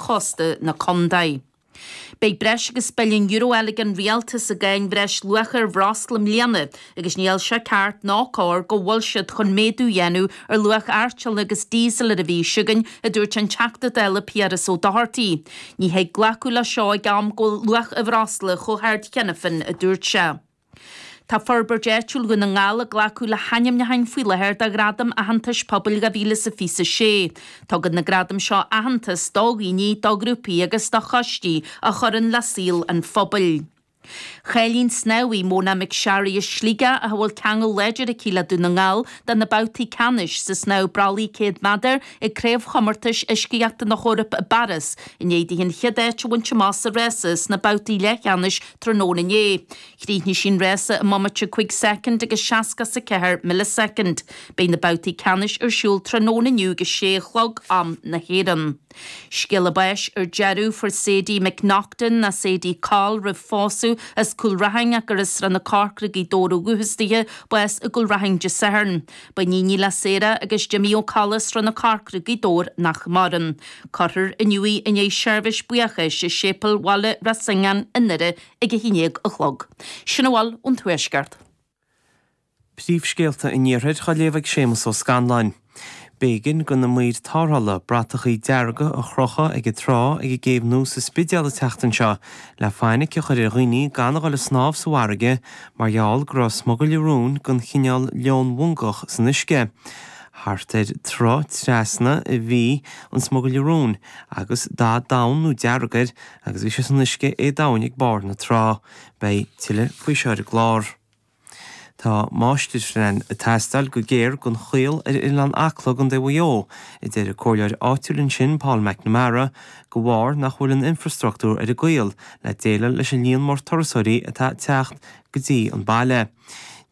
chósta na contae. Beidh breis agus billiún euro eile ag an rialtas i gcáin bhreisluacha ar bhreosla i mbliana agus níl sé ceart ná cóir go bhfuil siad chun méadú a dhéanamh ar luach artiollain agus díosail ar an mhí seo chugainn, a dúirt an Teachta Dála Piaras Ó Dochartaigh. Ní thig glacadh le seo ag am go bhfuil luach an bhreosla chomh hard cheana féin, a dúirt sé. Tá Forbairt Áitiúil Dhún na nGall ag glacadh le hainmneacháin faoi láthair do Ghradaim Aitheantais Pobail 2026. Tugann na gradaim seo aitheantas do dhaoine, do ghrúpaí agus do choistí a chuireann le saol an phobail. Chaillín snámha Mona McSharry as Sligeach a bhfuil ceangal láidir aici le Dún na nGall do na babhtaí ceannais sa snámh brollaigh 100 méadar ag Craobhchomórtais Uiscíochta na hEorpa i bPáras i ndiaidh di an chéad áit a bhaint amach sa rása sna babhtaí leathcheannais tráthnóna inné. Chríochnaigh sí an rása i mbomaite 5 soicind agus 64 millisoicind. Beidh na babhtaí ceannais ar siúl tráthnóna inniu ag a sé a chlog, am na hÉireann. Scéala báis ar deireadh, fuair Sadie McNaughton, nó Sadie Coll roimh phósadh, as Cúil Raithin ach gur as Srath na Corcra, Gaoth Dobhair ó dhúchas dithe, bás i gCúil Raithin Dé Sathairn. Ba iníon í le Sarah agus Jimmy Ó Colla, Srath na Corcra, Gaoth Dobhair, nach maireann. Cuirfear inniu í i ndiaidh seirbhís buíochais i Séipéal Bhaile Ros Ingean i nDoire ag a 11 a chlog. Sin a bhfuil ón Tuaisceart. Príomhscéalta an Iarthair á léamh ag Séamus Ó Scanláin. B'éigean do na maoir tarrthála bratachaí dearga a chrochadh ag an trá ag an gcéibh nua sa Spidéal an tseachtain seo le fainic a chur ar dhaoine gan a dhul ag snámh sa bhfarraige mar gheall go raibh smugairle róin den chineál leonmhongach san uisce. Thart ar troigh trasna a bhí an smugairle róin agus dath donn nó dearg air agus bhí sé san uisce éadomhain ag barr na trá. Beidh tuilleadh faoi seo ar an gclár. Tá máistirphlean ag teastáil go géar don Chaol ar Oileán Acla i gContae Mhaigh Eo, a deir an comhairleoir áitiúil ansin, Paul McNamara, de bharr nach bhfuil an infreastruchtúr ar an gCaol le déileáil leis an líon mór turasóirí atá ag teacht go dtí an baile.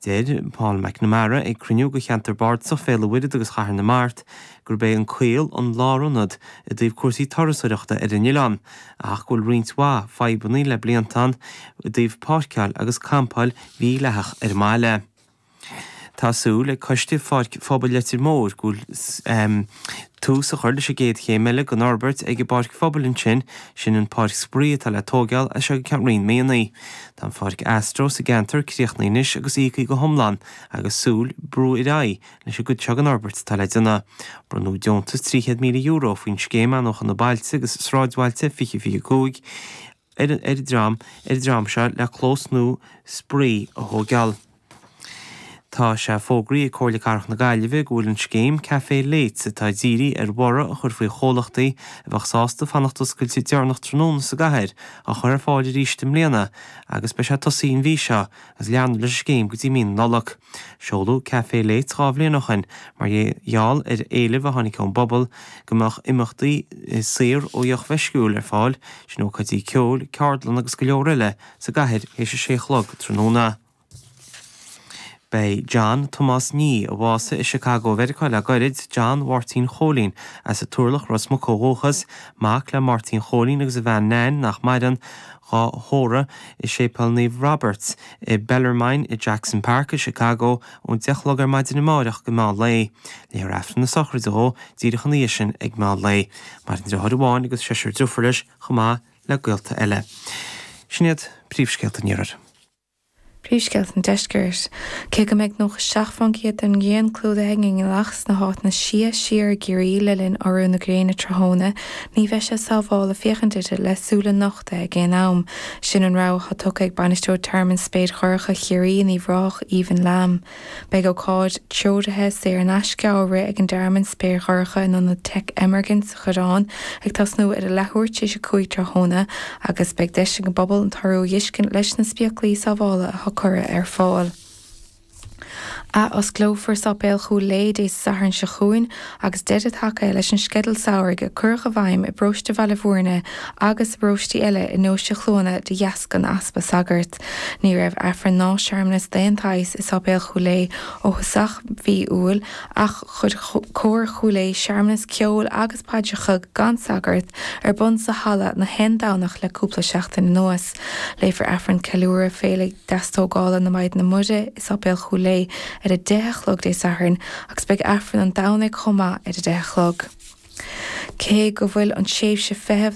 Deir Paul McNamara ag cruinniú de cheantar bardasach Bhéal an Mhuirthead agus Chathair na Mart gurb é an Caol an lárionad i dtaobh cúrsaí turasóireachta ar an oileán ach go bhfuil roinnt mhaith fadhbanna le blianta ann i dtaobh páirceáil agus campáil mhídhleathach ar an mbaile. Tá súil ag Coiste Pháirc Phobail Leitir Móir go bhfuil tús a chur leis an gcéad chéim eile den fhorbairt ag an bpáirc phobail ansin, sin an páirc spraoi atá le tóigeáil as seo go ceann roinnt míonna. Tá an pháirc Astro sa gceantar críochnaithe anois agus íoctha go hiomlán agus súil brú ar aghaidh leis an gcuid seo den fhorbairt atá le déanamh. Bronnadh deontas €300,000 faoin Scéim Athnuachana Bailte agus Sráidbhailte 2025 ar an dream ar an dream seo le clós nua spraoi a thóigeáil. Tá sé fógraithe ag Comhairle Cathrach na Gaillimhe go bhfuil an scéim Café Lates atá dírithe ar bhorradh a chur faoi chomhlachtaí a bheadh sásta fanacht oscailte deireanach tráthnóna sa gcathair á chur ar fáil arís i mbliana agus beidh sé tosaithe an mhí seo agus leanfar leis an scéim go dtí mí na Nollag. Seoladh Café Lates 2 bhliain ó shin mar gheall ar éileamh a tháinig ón bpobal go mbeadh imeachtaí saor ó dheoch mheisciúil ar fáil, sin ócáidí ceoil, ceardlanna agus go leor eile, sa gcathair théis a sé a chlog tráthnóna. Beidh John Tomás Nee, a bhásaigh i Chicago Mheiriceá le gairid, John Mháirtín Chóilín, as an Turlach, Ros Muc ó dhúchas, mac le Máirtín Chóilín agus a bhean Nan, nach maireann, dhá thórramh i Séipéal Naomh Roberts i Bellarmine i Jackson Park i Chicago ón 10 a chlog ar maidin amáireach go meán lae. Léifear Aifreann na sochraide dhó díreach ina dhiaidh sin ag meán lae. Maireann deartháir amháin agus seisear driofúr leis chomh maith le gaolta eile. Sin iad príomhscéalta an Iarthair. Príomhscéalta an Deiscirt. Cé go mbeidh 97% den ghrian clúdaithe ag an ngealach sna háiteanna is sia siar i gCiarraí le linn urú na gréine tráthnóna, ní bheidh sé sábháilte féachaint uirthi le súile nochta ag aon am. Sin an rabhadh atá tugtha ag Bainisteoir Tearmann Spéir Dhorcha Chiarraí in Uíbh Ráthach, Aoibhinn Lamb. Beidh ócáid treoraithe saor in aisce á rith ag an dTearmann Spéir Dhorcha in Ionad Tech Emergent sa Choireán ag tosnú ar a leathuair tar éis 5 tráthnóna agus beidh deis ag an bpobal an t-urú a dh'fheiscint leis na spéaclaí sábhála atá curtha ar fáil. Ath-osclófar Sáipéal Chúil Léith Dé Sathairn seo chugainn agus deireadh tagtha leis an sceideal samhraidh a cuireadh i bhfeidhm i bparóiste Bhaile Bhúirne agus i bparóistí eile i ndeoise Chluana de dheasca an easpa sagart. Ní raibh Aifreann ná searmanas d'aon tsaghas i Sáipéal Chúil Léith ó thosach mhí Iúil ach chuir Cór Chúil Aodha searmanas ceoil agus paidreacha gan sagart ar bun sa halla na haon Domhnach le cúpla seachtain anuas. Léifear Aifreann Ceiliúradh Féile Deastógála na Maighdine Muire i Sáipéal Chúil Aodha ar a 10 a chlog Dé Sathairn agus beidh Aifreann an Domhnaigh chomh maith ar a 10 a chlog. Cé go bhfuil an tréimhse feithimh don.